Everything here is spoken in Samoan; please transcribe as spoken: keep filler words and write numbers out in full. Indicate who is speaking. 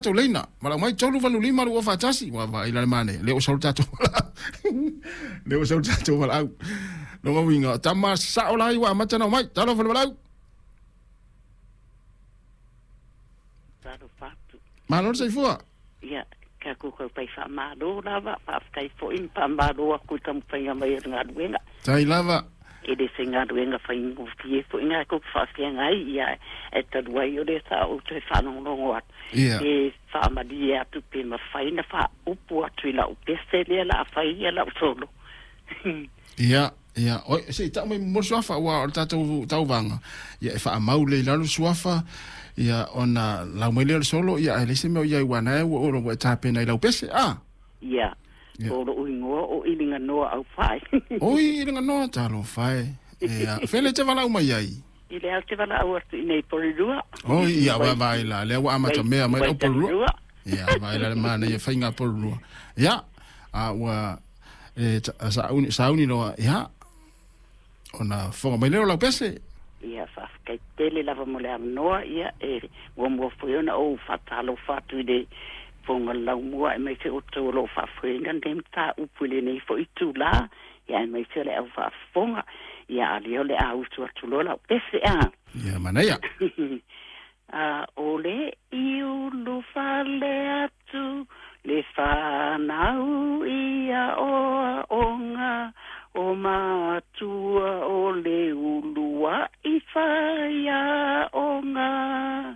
Speaker 1: Tatou leina valaau mai tolu valu lima lua faatasi ua vaai la le manaia lea ua sau le tatou valaau lea ua sau le tatou valaau lona uiga tama sao lai ua amata ona omai talofa le valaau.
Speaker 2: Talofa atu.
Speaker 1: Malo le soifua.
Speaker 2: Ia, tatou tautai faamalo lava, faafetai foi ma faamalo atu i taumafaiga mai o le galuega.
Speaker 1: Tai lava.
Speaker 2: E le se galuega faigofie foi na tou te faafeagai, ia, ae talu ai o lea sa ou toe faalogologo atu,
Speaker 1: Ia.
Speaker 2: pe faamalie atu pe mafai na faaupu atu i lau pese lea la a fai ia lau solo.
Speaker 1: Ia, ia, oi, se i tau mai mo le suafa, ua o le tatou tauvaga, ia e faamau lea i lalo le suafa, ia ona lau mai lea o le solo, ia ae leai se mea o i ai ua na ua ua e tapena i lau pese, a?
Speaker 2: Ia,
Speaker 1: Ia.
Speaker 2: O lou igoa o Iliganoa Aufai.
Speaker 1: Oi, Iliganoa, talofa e. Ia, fele e te valaau mai ai?
Speaker 2: I le au te valaau atu i nei Porirua.
Speaker 1: Oi, ia, vaai la, lea ua amata mea mai lau Porirua.
Speaker 2: Waitalua.
Speaker 1: Ia, vaai la le manaia faiga Porirua. Ia, a ua e ta- sauni, sauni loa, ia, ona fofoga mai lea o lau pese.
Speaker 2: Ia, faafetai tele lava mo le avanoa, ia, e muamua foi ona ou faatalofa atu i le fofoga laumua aemaise outou o lo o faafoeina lenei mataupu i lenei foi itulā, ia aemaise o le au faafofoga, ia a lea o le a usu atu loa lau pese a.
Speaker 1: Ia, manaia.
Speaker 2: A o le i ulufale atu le fanau ia oaoga o matua o le uluai faiaoga.